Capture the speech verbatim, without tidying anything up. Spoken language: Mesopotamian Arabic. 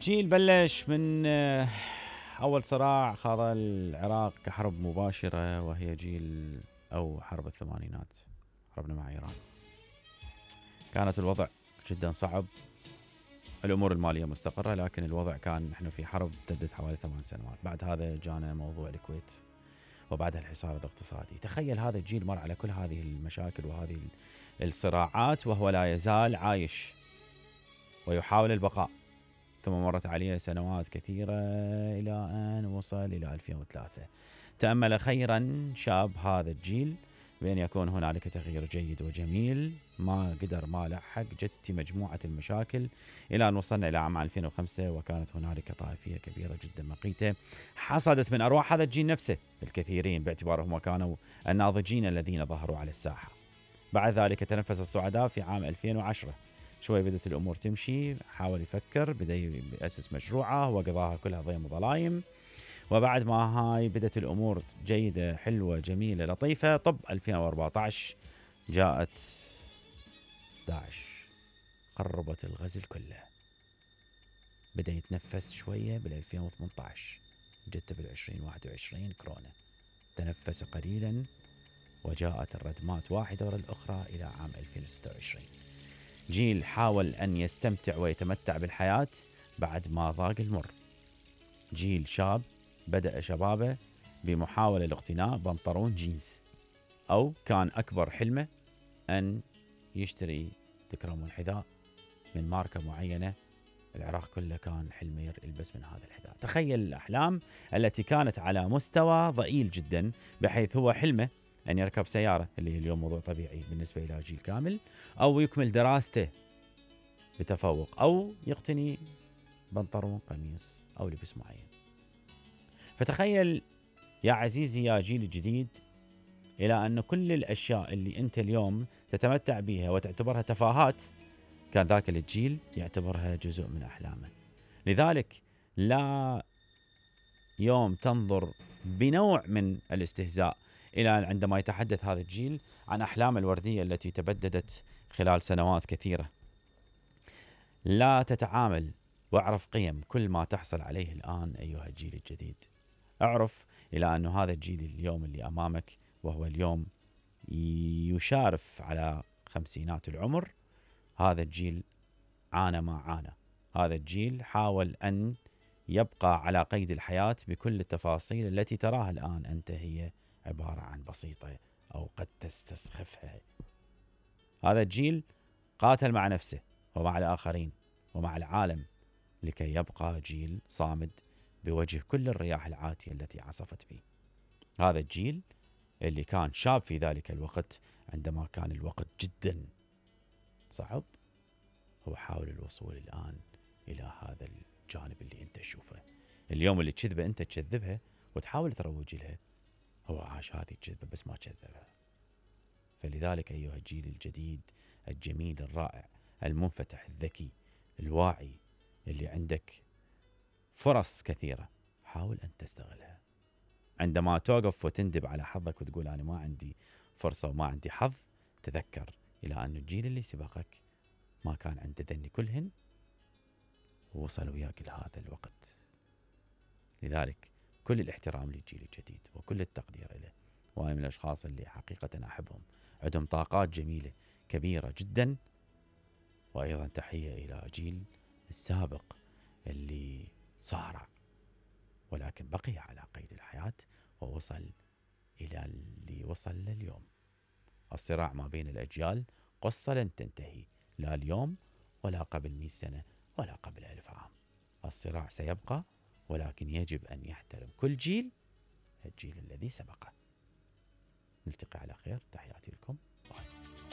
جيل بلش من أول صراع خاض العراق كحرب مباشرة، وهي جيل أو حرب الثمانينات، حربنا مع إيران. كانت الوضع جدا صعب، الأمور المالية مستقرة، لكن الوضع كان نحن في حرب امتدت حوالي ثمان سنوات. بعد هذا جانا موضوع الكويت، وبعدها الحصار الاقتصادي. تخيل هذا الجيل مر على كل هذه المشاكل وهذه الصراعات وهو لا يزال عايش ويحاول البقاء. ثم مرت عليه سنوات كثيرة إلى أن وصل إلى ألفين وثلاثة. تأمل خيرا شاب هذا الجيل بأن يكون هنالك تغيير جيد وجميل، ما قدر ما لحق جت مجموعة المشاكل إلى أن وصلنا إلى عام ألفين وخمسة، وكانت هنالك طائفية كبيرة جدا مقيتة حصدت من أرواح هذا الجيل نفسه الكثيرين، باعتبارهم كانوا الناضجين الذين ظهروا على الساحة. بعد ذلك تنفس الصعداء في عام ألفين وعشرة، شوي بدت الأمور تمشي، حاول يفكر، بدأ يأسس مشروعه وقضاها كلها ضيم وظلايم. وبعد ما هاي بدت الأمور جيدة حلوة جميلة لطيفة، طب ألفين وأربعة عشر جاءت داعش، قربت الغزل كله. بدأ يتنفس شوية بال ألفين وثمانية عشر، جت بال ألفين وواحد وعشرين كورونا، تنفس قليلا وجاءت الردمات واحدة ورا الأخرى إلى عام ألفين وستة وعشرين. جيل حاول أن يستمتع ويتمتع بالحياة بعد ما ضاق المر. جيل شاب بدأ شبابه بمحاولة لاقتناء بنطلون جينز، أو كان أكبر حلمه أن يشتري تكرمون حذاء من ماركة معينة. العراق كله كان حلمه يلبس من هذا الحذاء. تخيل الأحلام التي كانت على مستوى ضئيل جدا، بحيث هو حلمه أن يركب سيارة، اللي اليوم موضوع طبيعي بالنسبة إلى جيل كامل، أو يكمل دراسته بتفوق، أو يقتني بنطلون قميص أو لبس معين. فتخيل يا عزيزي يا جيل الجديد، إلى أن كل الأشياء اللي أنت اليوم تتمتع بها وتعتبرها تفاهات، كان ذاك الجيل يعتبرها جزء من أحلامه. لذلك لا يوم تنظر بنوع من الاستهزاء إلى عندما يتحدث هذا الجيل عن أحلام الوردية التي تبددت خلال سنوات كثيرة. لا تتعامل واعرف قيم كل ما تحصل عليه الآن أيها الجيل الجديد. اعرف إلى أن هذا الجيل اليوم اللي أمامك، وهو اليوم يشارف على خمسينات العمر، هذا الجيل عانى ما عانى. هذا الجيل حاول أن يبقى على قيد الحياة بكل التفاصيل التي تراها الآن أنت هي عبارة عن بسيطة أو قد تستسخفها. هذا الجيل قاتل مع نفسه ومع الآخرين ومع العالم لكي يبقى جيل صامد بوجه كل الرياح العاتية التي عصفت به. هذا الجيل اللي كان شاب في ذلك الوقت، عندما كان الوقت جدا صعب، هو حاول الوصول الآن إلى هذا الجانب اللي أنت تشوفه اليوم، اللي تكذبه أنت تكذبها وتحاول تروج لها، هو عاش هذه الكذبة بس ما كذبها. فلذلك أيها الجيل الجديد الجميل الرائع المنفتح الذكي الواعي، اللي عندك فرص كثيرة، حاول أن تستغلها. عندما توقف وتندب على حظك وتقول أنا ما عندي فرصة وما عندي حظ، تذكر إلى أن الجيل اللي سبقك ما كان عنده ذني كلهن ووصل وياك لهذا الوقت. لذلك كل الاحترام للجيل الجديد وكل التقدير له، وأنا من الأشخاص اللي حقيقة أحبهم، عندهم طاقات جميلة كبيرة جدا. وأيضا تحية إلى جيل السابق اللي صارع ولكن بقي على قيد الحياة ووصل إلى اللي وصل لليوم. الصراع ما بين الأجيال قصة لن تنتهي، لا اليوم ولا قبل مئة سنة ولا قبل ألف عام. الصراع سيبقى، ولكن يجب أن يحترم كل جيل الجيل الذي سبقه. نلتقي على خير، تحياتي لكم. باي.